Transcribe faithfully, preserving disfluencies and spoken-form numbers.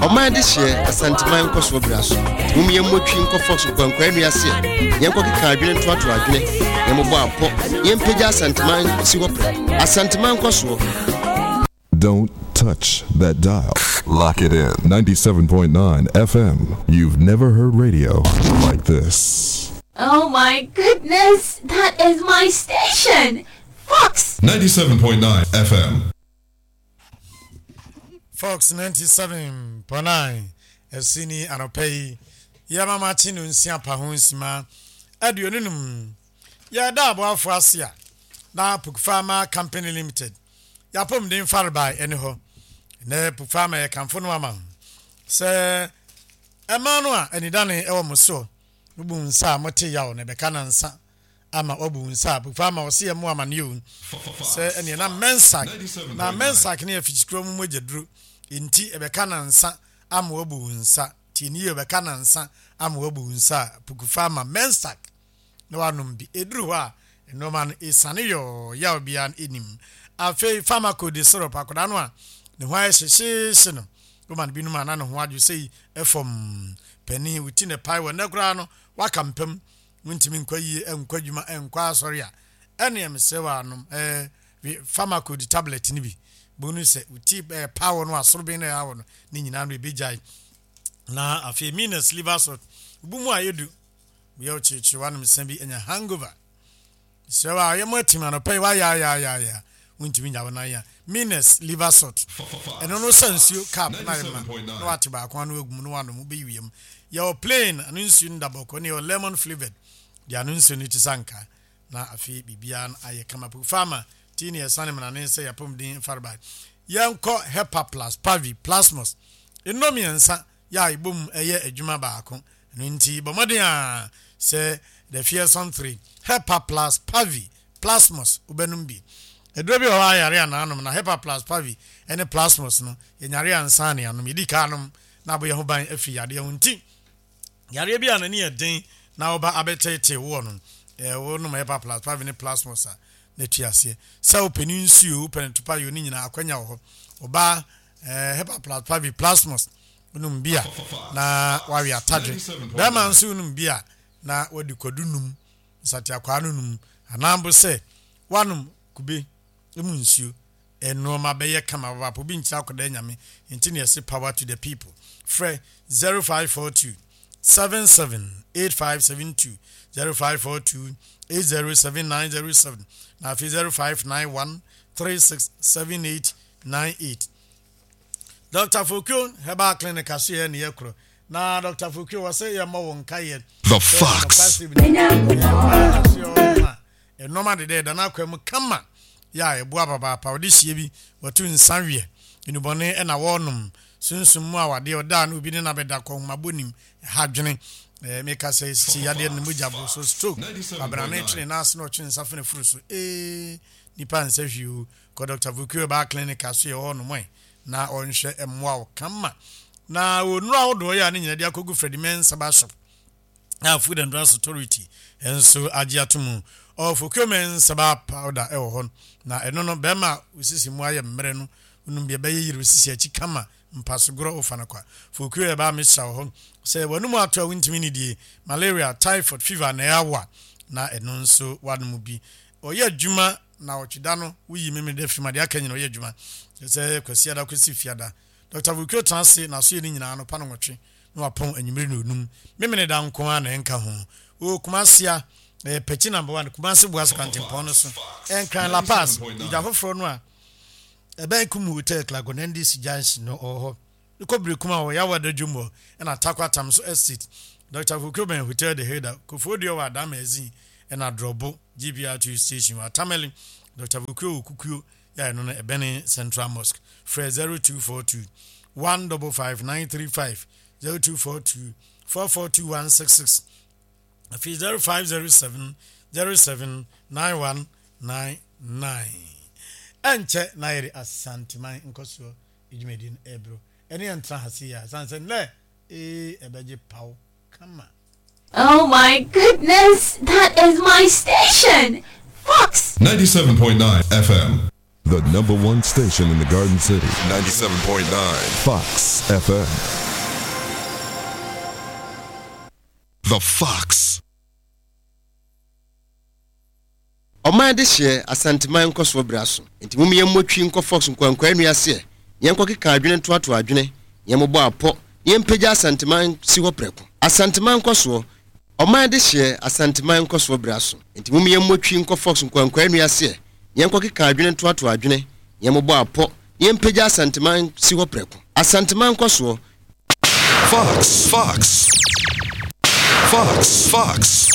Ɔman de hyeɛ Asanteman nkɔsoɔ bra so. Mom yɛmmɔ twi nkɔ Fox nkwankwaa nnua ase a yɛnkɔkeka adwene ntoatoa adwene, yɛmmobɔ apɔ, yɛmpagya Asanteman si hɔ prɛ. Asanteman nkɔsoɔ. Don't touch that dial. Lock it in. ninety-seven point nine F M. You've never heard radio like this. Oh my goodness, that is my station! Fox! ninety-seven point nine F M. Fox ninety-seven point nine ɛsi ni anɔpa yi yɛmama kye no nsia pa ho nsima aduonu num. Yɛda aboafo ase a na Pukfama Company Limited yɛapɔmuden farebae ɛne hɔ nɛ. Pukfama yɛkamfo no ama sɛ ɛma no a anidane ɛwɔ mo soɔ. Wobu nsa a mote yaw na ɛbɛka nansa ama wabu nsa a Pukfama ɔse yɛ mo amanneɛ o sɛ ɛneɛ na Mensak na Mensak ne yɛ fikyikuro mu mogya duro nti ɛbɛka nansa ama wabu nsa. Tie ne yie, ɛbɛka nansa ama wabu nsa a Pukufama Mensak na wanom bi. Ɛduru hɔ a nneɛma no ɛsiane yɔɔ yaw biara no ɛnim. Afei Pharmacode syrup, akwadaa no a ne ho ayɛ hyehyeehye no, woma no binom a na ne ho adwo sɛi. Ɛfam panin wo ti ne pae wɔ nnɛ koraa no waka mpam, wontumi nkɔ yie, nkɔ adwuma, nkɔ asɔre a, ɛneɛ mesrɛ wɔ anom ɛɛ Pharmacode tablet no bi bonu sɛ wo ti ɛɛ pa wɔ no asoroben no ɛha wɔ no ne nyinaa no ɛbɛgyae. Na afei Minas liver salt bu mu a yɛdu yɛ wo kyerekyere wanom nsa bi anya hangover, srɛ wa yɛ mo atim anɔpa yi wayaayaayaya wontumi nya wo nan a, Minas liver salt ɛno no sɛ nsuo cup na yɛ ma na wate baako ano agu mu na wanom, wobɛyi wiem. Yɛwɔ plain ano nsuo no da bɔkɔ ne yɛwɔ lemon flavoured deɛ ano nsuo no ti sa nka. Na afei biribiara no ayɛ kama. Farma tii ne yɛsane mmanane sɛ yɛapɔmuden fareba. Yɛnkɔ Hepa Plus Pavi Plasmos nnɔ mmiɛnsa yɛ a ɛbom ɛyɛ adwuma baako no nti bɔ mmɔden a sɛ the fearsome three, Hepa Plus Pavi Plasmos, wobɛnom bi. Aduro bi wɔ hɔ a yare anaanom na Hepa Plus Pavi ne Plasmos no yɛnyare ansa ne anom. Yɛdi ka anom na abɔ yɛn ho ban afiri yadeɛ ho nti yareɛ bi a n'ani yɛ den na wɔba abɛtɛɛtɛɛ woɔ no, ɛɛ wɔnom Hepa Plus Pavi ne Plasmos a na tu aseɛ sɛ wopɛ ne nsuo, wopɛ ne topa yɛ ne nyinaa akwanya wɔ hɔ. Ɔbaa ɛɛ Hepa Plus Pavi Plasmos wonom bi a na wawe atadwe. Bɛrima nso wonom bi a na wadi kwadu num nsateakwaa no num anaa mpo sɛ wanom kube emu nsuo, nneɛma bɛyɛ kama papaapa. Obi nkyerɛ akɔda Nyame nti ne yɛse power to the people. Frɛ zero five four two seven seven eight five seven two, zero five four two eight zero seven nine zero seven, na afei zero five nine one three six seven eight nine eight. Doctor Fokuo Herbal Clinic aso yɛ ne yɛ korɔ na Doctor Fokuo wɔ sɛ yɛmmɔ wo nkayɛ. The Fox. Ɛnɔma deda ɛda no akwa mu kama yɛ a ɛboa papaapa. Wɔde hyie bi wɔto nsa wiɛ nnubɔne ɛna wɔrenom sunsum mu awadeɛ ɔdaa no obi ne nabɛda kɔnhomabɔ nim ɛha dwene ɛɛ meka sɛ si yadeɛ no mogya bo so stroke abrane twene n'ase na ɔtwe nsa fene furu so ee nipa nsa hwee o. Kɔ Doctor Fokuo Herbal Clinic aso yɛ hɔ nom ɛ na ɔnhwɛ mmoa wo kama. Na onnuro ahodoɔ yɛ a ne nyinaa de akɔgu Freddie Mensah shop a Food and Drugs Authority nso agye ato mu. Ɔfokuo Mensah powder ɛwɔ hɔ na ɛno no bɛrima a osisi mu ayɛ mmerɛ no onum deɛ ɛbɛyɛ yiri osisi akyi kama mpasogorɔ wofa no kwa. Fokuo yɛ baa mehyɛ wɔ hɔ sɛ wɔnum ato a wontumi ne die malaria, typhoid, fever na ɛyɛ awa na ɛno nso wanom bi ɔyɛ adwuma. Na ɔtweda no woyi mímí dɛ firi mu adeɛ aka nyina ɔyɛ adwuma sɛ Kwasi ada kɔsi fiada. Doctor Fokuo tena ase na so yɛ ne nyinaa no pa no nwɔtwe na wapɔn anwummere na onum mímí da nko ara na ɛnka ho wɔ Kumase a ɛyɛ Pɛkyi number one, Kumase Buase kwantempɔn no so, Ɛnkran La Paz idwa foforɔ no a ɛbɛn Kum Hotel Klagon N D C junction no ɔwɔ hɔ. Kɔ Berekum a wɔyɛ awɔ adadwom hɔ ɛna Takwa Tam so Estate. Doctor Fokuo bɛn Hotel de Hilda Kofoɔ Dua wɔ Adama Ezin ɛna Drɔbo G P R two station wɔ Atamale. Doctor Fokuo wɔ Kukuo yɛ ɛno no ɛbɛne Central Mosque. Frɛ zero two four two one five five nine three five, zero two four two four four two one six six, afei zero five zero seven zero seven nine one nine nine. Ɛnkyɛ na yɛde Asanteman nkɔsoɔ dwumadi no ɛbro ɛne yɛntena ha se yɛ a sane sɛ nnɛ ee ɛbɛgye paw kama. Oh my goodness, that is my station! Fox! ninety-seven point nine F M. The number one station in the Garden City. ninety-seven point nine Fox F M. The Fox. Ɔman de hyɛ Asanteman nkɔsoɔ bra so. Nti mum yɛn mmɔtwi nkɔ Fox nkwankwa nnua seɛ. Yɛn kɔ keka adwene ntoatoa adwene. Yɛn mmobɔ apɔ. Yɛn mpagya Asanteman si hɔ prɛko. Asanteman nkɔsoɔ. Ɔman de hyɛ Asanteman nkɔsoɔ bra so. Nti mum yɛn mmɔtwi nkɔ Fox nkwankwa nnua seɛ. Yɛn kɔ keka adwene ntoatoa adwene. Yɛn mmobɔ apɔ. Yɛn mpagya Asanteman si hɔ prɛko. Asanteman nkɔsoɔ. Fox, Fox, Fox, Fox.